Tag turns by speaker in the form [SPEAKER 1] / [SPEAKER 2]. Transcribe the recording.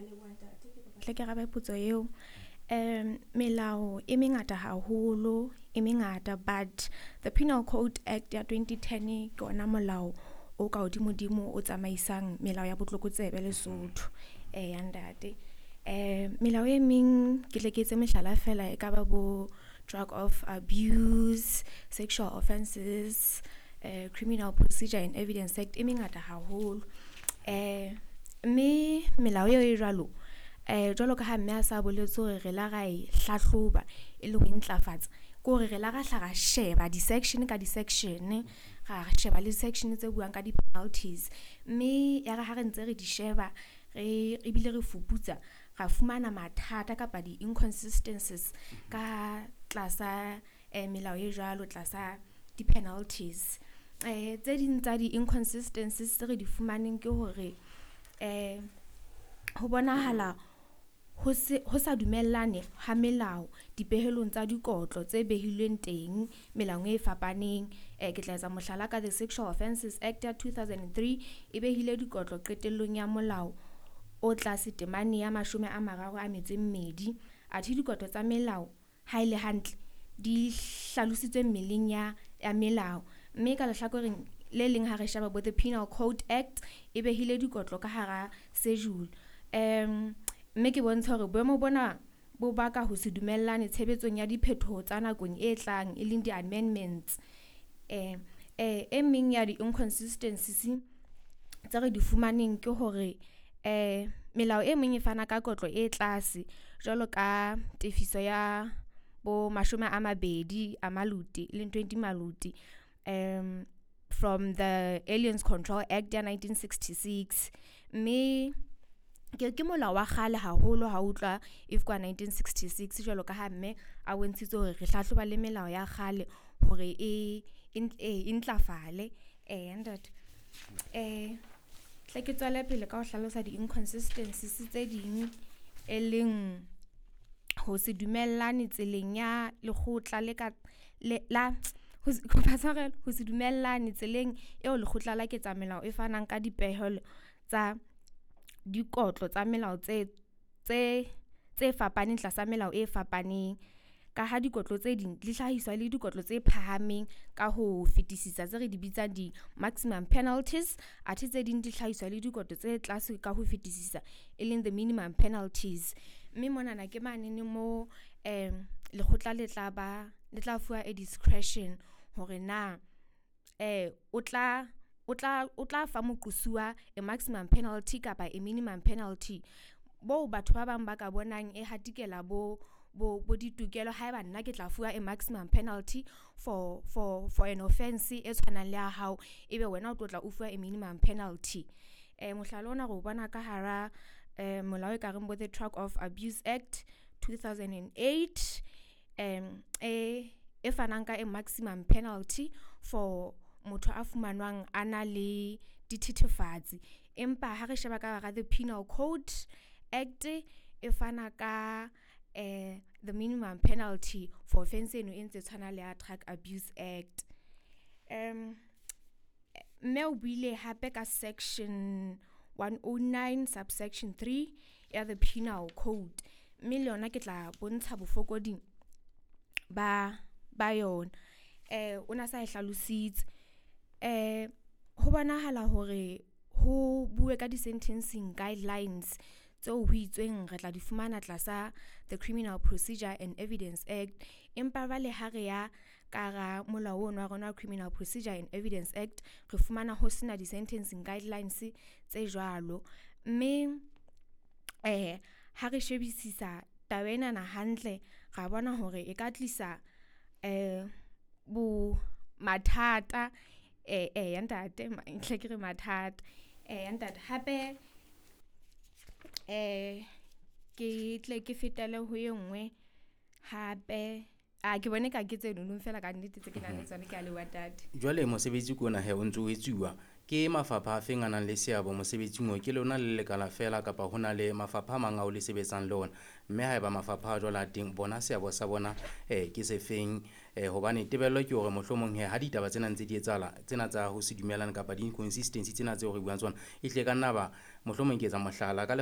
[SPEAKER 1] Leboha, ntate. Ke kopa hle ke arabe potso eo. Melao e mengata haholo, e mengata, but the Penal Code Act ya 2010 ke ona molao o ka hodimo-dimo o tsamaisang melao ya botlokotsebe Lesotho. Eya, ntate. Melao e meng, ke tle ke etse mehlala fela, e ka ba bo drug of abuse, sexual offences, Criminal Procedure and Evidence Act, e mengata haholo. Mme melao eo e jwalo, jwalo ka ha mme a sa boletse hore re la ra e hlahloba e le ho ntlafatsa, ke hore re la ra hla ra sheba di-section ka di-section, ra sheba le section tse buang ka di-penalties, mme ya re ha re ntse re di sheba, re ebile re fuputsa, ra fumana mathata kapa di-inconsistencies ka tlasa melao e jwalo tlasa di-penalties. Tse ding tsa di-inconsistencies tse re di fumaneng ke hore ho bonahala ho se ho sa dumellane ha melao dipehelong tsa dikotlo tse behilweng teng melaong e fapaneng. Ke tla etsa mohlala ka the Sexual Offences Act ya 2003, e behile dikotlo qetellong ya molao o tlase temane ya 32, athe dikotlo tsa melao ha ele hantle di hlalositswe mmeleng ya melao. Mme ka lehlakoreng le leng, ha re sheba bo the Penal Code Act, e behile dikotlo ka hara schedule. Mme ke bontsha hore boemo bona bo baka ho se dumellane tshebetsong ya diphetoho tsa nakong e tlang, e leng di-amendments. E meng ya di-inconsistencies tse re di fumaneng ke hore melao e meng e fana ka kotlo e tlase, jwalo ka tefiso ya bo 20 a maluti, e leng 20 maluti, from the Aliens Control Act ya 1966, mme ke molao wa kgale haholo ha utlwa if kwa 1966, jwalo ka ha mme a bontshitse hore re hlahloba le melao ya kgale hore e ntlafale. Ntate, tle ke tswele pele ka ho hlalosa di-inconsistencies tse ding, e leng ho se dumellane tseleng ya lekgotla le ka le la ho se, kopa tshwarelo, ho se dumellane tseleng eo lekgotla la ketsa melao e fanang ka dipehelo tsa dikotlo tsa melao tse fapaneng tlasa melao e fapaneng, ka ha dikotlo tse ding di hlahiswa le dikotlo tse phahameng ka ho fetisisa tse re di bitsang di-maximum penalties, athe tse ding di hlahiswa le dikotlo tse tlase ka ho fetisisa, e leng the minimum penalties. Mme monana ke manene mo lekgotla le tla fuwa a discretion hore na o tla fa moqosuwa a maximum penalty kapa a minimum penalty, bo batho ba bang ba ka bonang e hatikela bo ditokelo haeba nna ke tla fuwa a maximum penalty for an offense e tshwanang le ya hao, ebe wena o tlo tla o fuwa a minimum penalty. Mohlala ona re o bona ka hara molao e ka reng bo the Drug of Abuse Act 2008, e fanang ka a maximum penalty for motho a fumanwang a na le dithethefatsi, empa ha re sheba ka hara the Penal Code Act, e fana ka the minimum penalty for offense eno e ntse tshwana le ya Drug Abuse Act. Mme o buile hape ka section 109 subsection 3 ya the Penal Code, mme le yona ke tla bontsha bofokodi ba yona. O na sa e hlalositse. Ho bonahala hore ho bue ka di-sentencing guidelines tseo ho itsweng re tla di fumana tlasa the Criminal Procedure and Evidence Act, empa jwale ha re ya ka hara molao ono wa rona wa Criminal Procedure and Evidence Act, re fumana ho sena di-sentencing guidelines tse jwalo. Mme ha re shebisisa taba enana hantle, ra bona hore e ka tlisa bo mathata. Ya ntate, hle ke re mathata. Ya ntate, hape ke tle ke fetele ho e nngwe hape. A ke bone ka ke tse nonong fela ka nnete tse ke nang le tsona. Ke a leboha, ntate.
[SPEAKER 2] Jwale mosebetsi ke ona he o ntso o etsuwa ke mafapha a feng a nang le seabo mosebetsing o? Ke lona le lekala fela kapa ho na le mafapha a mang ao le sebetsang le ona? Mme haeba mafapha a jwalo a teng, bona seabo sa bona ke se feng? Hobane tebello ke hore mohlomong he ha ditaba tsena ntse di etsahala, tsena tsa ho se dumellane kapa di-inconsistency tsena tseo re buang tsona, ehlile ka nna ba mohlomong ke etsa mohlala ka